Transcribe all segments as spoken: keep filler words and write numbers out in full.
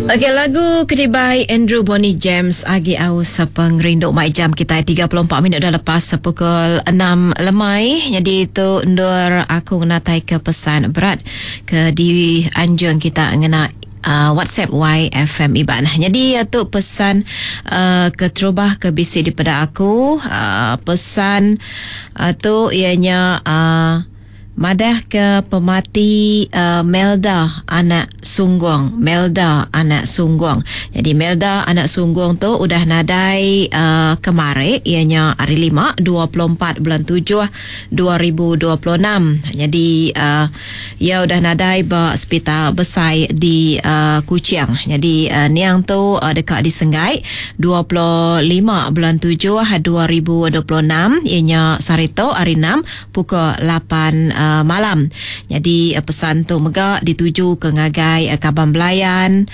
Okey, lagu kedibai Andrew Bonnie James agi aus pengerindu mai jam kita tiga puluh empat minit dah lepas pukul enam lemai. Jadi tu ndur aku ngenatai ke pesan berat ke di anjung kita ngena Uh, WhatsApp Y F M Iban. Jadi tu pesan uh, keterubah ke bisi daripada aku. Uh, pesan uh, tu ianya uh, madah ke pemati uh, Melda anak Sunggung. Melda anak Sunggung. Jadi Melda anak Sunggung tu udah nadai uh, kemari ianya hari lima dua puluh empat bulan tujuh dua ribu dua puluh enam. Jadi uh, ia udah nadai ba hospital besar di uh, Kuching. Jadi uh, niang tu uh, dekat di Senggai dua puluh lima bulan tujuh dua ribu dua puluh enam ianya sarito hari enam pukul lapan uh, malam. Jadi pesan tu mega dituju ke ngagai Kaban Belayan,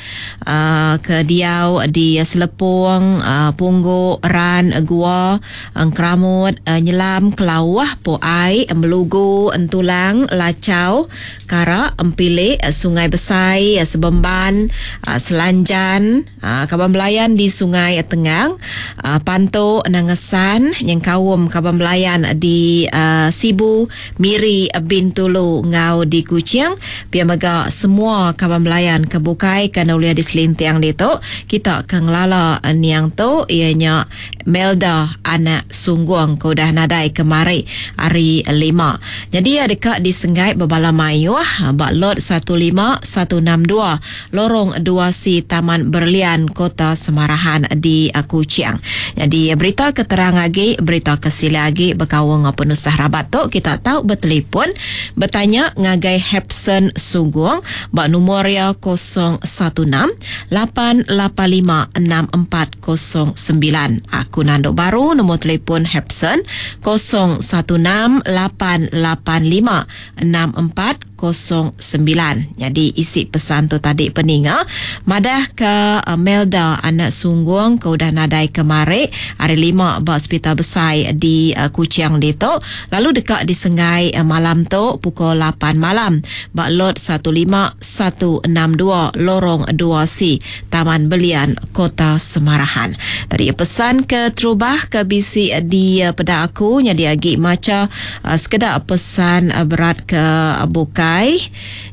uh, ke Diau di Selepong, uh, Pungguk, Ran, Gua, Engkeramut, uh, Nyelam, Kelawah, Poai, Melugu, Entulang, Lacau, Karak, Empilik, Sungai Besai, Sebemban, uh, Selanjan, uh, Kaban Belayan di Sungai Tengang, uh, Pantu, Nangesan, Nyengkaum Kaban Belayan di uh, Sibu, Miri, Bintulu ngau di Kuching. Pia mega semua kaban belayan kebukai kena ulia di Selintiang ditu kita ke ngelala niang tu ianya Melda anak Sunggung ke udah nadai kemari hari lima. Jadi dekat di Senggai Bebala Mayuh bak lot satu lima satu enam dua Lorong dua C Taman Berlian Kota Semarahan di Kuching. Jadi berita keterang lagi, berita kesila lagi berkawang penusah rabat tu kita tahu bertelefon bertanya ngagai Hepson Sunggung bak nombor ya kosong satu enam lapan lapan lima enam empat kosong sembilan. Aku nanduk baru nombor telefon Hepson kosong satu enam lapan lapan lima enam empat kosong sembilan. Jadi isi pesan tu tadi peninga madah ke Melda anak Sunggung ke udah nadai kemari hari lima bak hospital besar di uh, Kuching ditu lalu dekat di Sengai uh, malam tu pukul lapan malam bak lot satu lima satu enam dua Lorong dua C Taman Belian Kota Semarahan. Tadi pesan ke terubah ke bisi di uh, peda aku jadi agi maca uh, sekedar pesan uh, berat ke uh, bukai.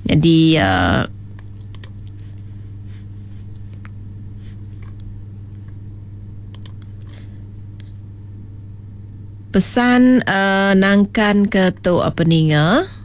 Jadi uh, pesan uh, nangkan ke tu apa ninga.